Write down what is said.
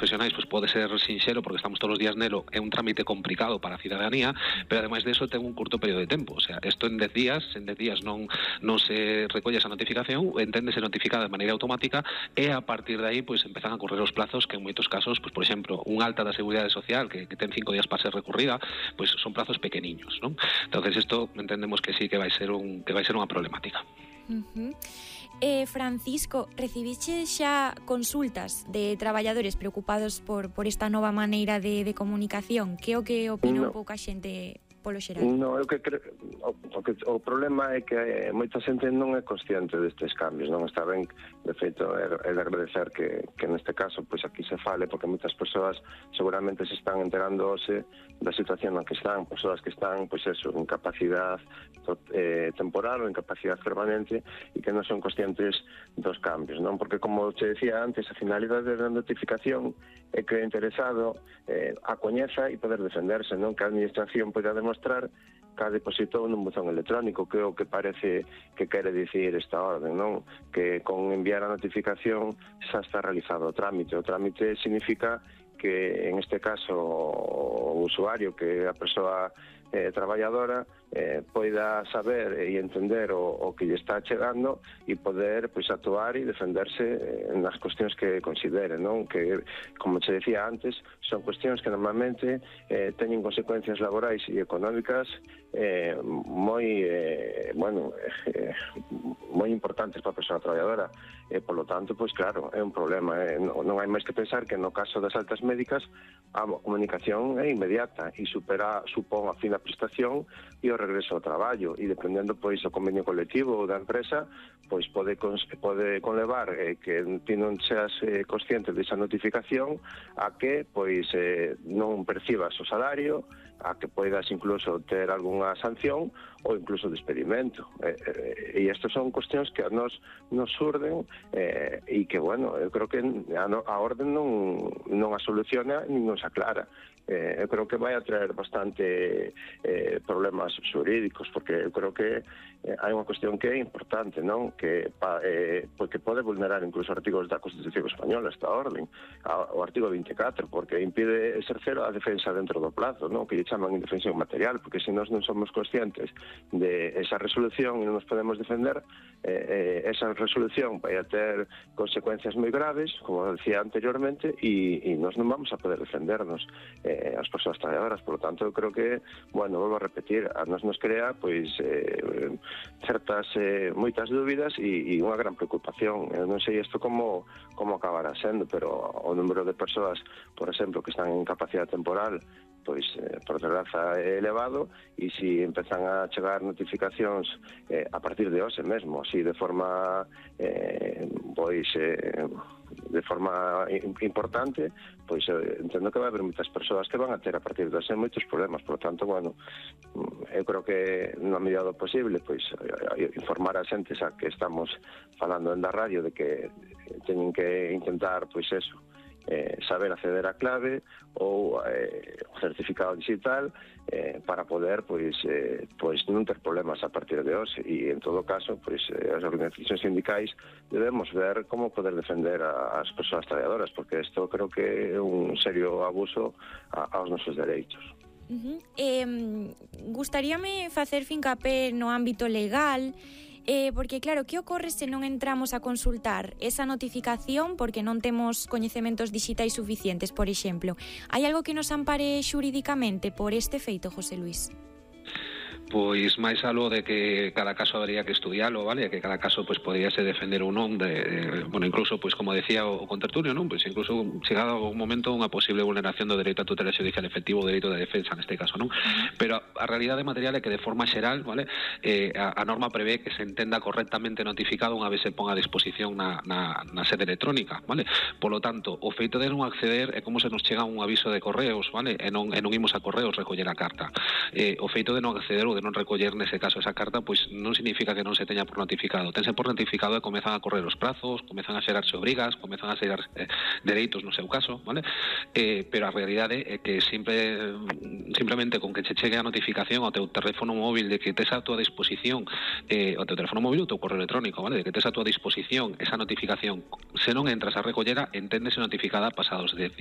profesionais pois pode ser sinxelo porque estamos todos os días nelo, é un trámite complicado para a cidadanía, pero ademais de eso ten un curto período de tempo, o sea, isto en 10 días non se recolle esa notificación, enténdese notificada de maneira automática e a partir de aí pois empezan a correr os plazos que en moitos casos, pois por exemplo, un alta da Seguridade Social que ten 5 días para ser recurrida, pois son plazos pequeniños, non? Entonces isto entendemos que sí que vai ser unha problemática. Francisco, recibiche xa consultas de traballadores preocupados por esta nova maneira de comunicación? Que o que opina un pouco a xente polo xeral? Non, eu que creo o problema é que moita xente non é consciente destes cambios, non está ben, de feito é de agradecer que neste caso pois aquí se fale, porque moitas persoas seguramente se están enterándose da situación na que están, persoas que están pois eso, en capacidade temporal ou en capacidade permanente e que non son conscientes dos cambios, non? Porque como che decía antes, a finalidade da notificación é que o interesado a coñeza e poder defenderse, non? Que a administración poida demostrar que a depositou nun buzón electrónico, que é o que parece que quere dicir esta orden, non? Que con enviar a notificación xa está realizado o trámite. O trámite significa que en este caso o usuario, que é a persoa traballadora, poida saber e entender o que lle está chegando e poder pois actuar e defenderse nas cuestións que considere, non? Que, como che decía antes, son cuestións que normalmente teñen consecuencias laborais e económicas moi importantes para a persoa traballadora. Polo tanto, pois claro, é un problema. Non hai máis que pensar que no caso das altas médicas a comunicación é inmediata e supón a fin da prestación e o regreso ao traballo, e dependendo pois o convenio colectivo ou da empresa, pois pode conlevar que ti non seas consciente desa notificación a que pois non percibas o salario, a que poidas incluso ter algunha sanción ou incluso despedimento. E estas son cuestións que a nos surden e que, bueno, eu creo que a orden non a soluciona nin nos aclara. Eu creo que vai a traer bastante problemas xurídicos, porque eu creo que hai unha cuestión que é importante, non? Porque pode vulnerar incluso artigos da Constitución Española esta orden, o artigo 24, porque impide exercer a defensa dentro do plazo, non? Que lle chaman indefensión material, porque se nós non somos conscientes de esa resolución e non nos podemos defender, esa resolución vai a ter consecuencias moi graves, como decía anteriormente, e nós non vamos a poder defendernos as persoas traballadoras. Por lo tanto, eu creo que, bueno, volvo a repetir, a nos crea pois moitas dúbidas e unha gran preocupación. Eu non sei isto como acabará sendo, pero o número de persoas, por exemplo, que están en capacidade temporal, pois, por desgraza, é elevado, e se empezan a chegar notificacións a partir de hoxe mesmo, así de forma de forma importante, pois entendo que vai haber moitas persoas que van a ter a partir de hoxe moitos problemas. Por lo tanto, bueno, eu creo que na medida do posible, pois informar a xente xa que estamos falando en da radio de que teñen que intentar, pois eso, saber acceder á clave ou o certificado digital para poder pois non ter problemas a partir de hoxe, e en todo caso pois as organizacións sindicais debemos ver como poder defender as persoas traballadoras, porque isto creo que é un serio abuso aos nosos dereitos. Gustaríame facer fincapé no ámbito legal, porque claro, que ocorre se non entramos a consultar esa notificación porque non temos coñecementos digitais suficientes, por exemplo? Hai algo que nos ampare xurídicamente por este feito, José Luis? Pois máis algo de que cada caso habría que estudialo, vale? Que cada caso pois podríase defender ou non bueno, incluso pois como decía o contertulio, non? Pois incluso chegado algún momento unha posible vulneración do dereito a tutela xudicial efectivo, o dereito de defensa neste caso, non? Pero a realidade material é que de forma xeral, vale? A norma prevé que se entenda correctamente notificado unha vez se ponga a disposición na sede electrónica, vale? Polo tanto, o feito de non acceder é como se nos chega un aviso de correos, vale? E non imos a correos recoller a carta. O feito de non acceder ou de non recoller nese caso esa carta, pois non significa que non se teña por notificado. Tense por notificado e comezan a correr os prazos, comezan a xerarse obrigas, comezan a xerar dereitos no seu caso, vale? Pero a realidade é que simplemente con que che chegue a notificación ao teu teléfono móvil de que tes a túa disposición, o teu teléfono móvil ou teu correo electrónico, vale? De que tes a túa disposición esa notificación, se non entras a recollera, enténdese notificada pasados 10 días.